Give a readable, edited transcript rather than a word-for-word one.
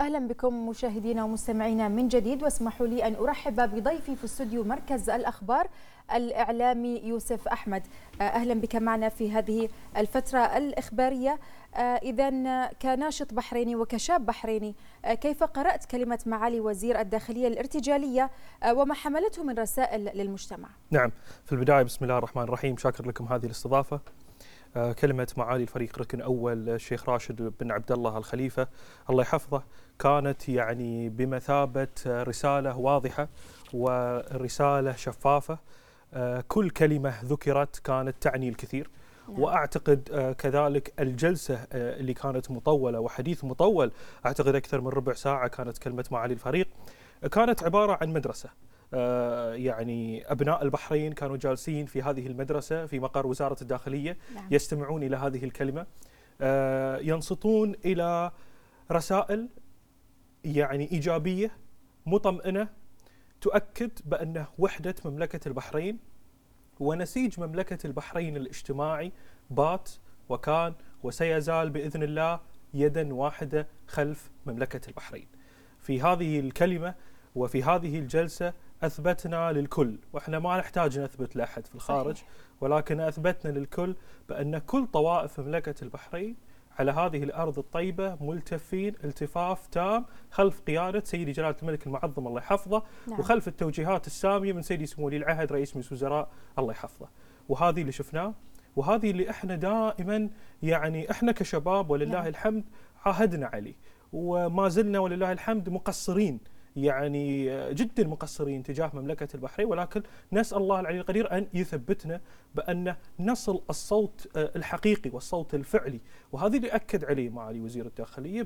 أهلا بكم مشاهدينا ومستمعينا من جديد، واسمحوا لي أن أرحب بضيفي في استوديو مركز الأخبار الإعلامي يوسف أحمد. أهلا بك معنا في هذه الفترة الإخبارية. إذن كناشط بحريني وكشاب بحريني، كيف قرأت كلمة معالي وزير الداخلية الارتجالية وما حملته من رسائل للمجتمع؟ نعم، في البداية بسم الله الرحمن الرحيم، شاكر لكم هذه الاستضافة. كلمة معالي الفريق ركن أول الشيخ راشد بن عبد الله الخليفة الله يحفظه كانت يعني بمثابة رسالة واضحة ورسالة شفافة. كل كلمة ذكرت كانت تعني الكثير. وأعتقد كذلك الجلسة اللي كانت مطولة وحديث مطول، أعتقد أكثر من ربع ساعة، كانت كلمة معالي الفريق كانت عبارة عن مدرسة. يعني أبناء البحرين كانوا جالسين في هذه المدرسة في مقر وزارة الداخلية، يستمعون إلى هذه الكلمة، ينصتون إلى رسائل يعني إيجابية مطمئنة تؤكد بأن وحدة مملكة البحرين ونسيج مملكة البحرين الاجتماعي بات وكان وسيزال بإذن الله يدا واحدة خلف مملكة البحرين. في هذه الكلمة وفي هذه الجلسة أثبتنا للكل، وإحنا ما نحتاج نثبت لأحد في الخارج، ولكن أثبتنا للكل بأن كل طوائف مملكة البحرين على هذه الأرض الطيبة ملتفين التفاف تام خلف قيادة سيدي جلالة الملك المعظم الله يحفظه، وخلف التوجيهات السامية من سيدي سمو ولي العهد رئيس مجلس الوزراء الله يحفظه. وهذه اللي شفناه، وهذه اللي إحنا دائما يعني إحنا كشباب ولله الحمد عاهدنا عليه، وما زلنا ولله الحمد مقصرين، يعني جدا مقصرين تجاه مملكة البحرين، ولكن نسأل الله العلي القدير أن يثبتنا بأن نصل الصوت الحقيقي والصوت الفعلي، وهذا اللي أكد عليه معالي وزير الداخلية.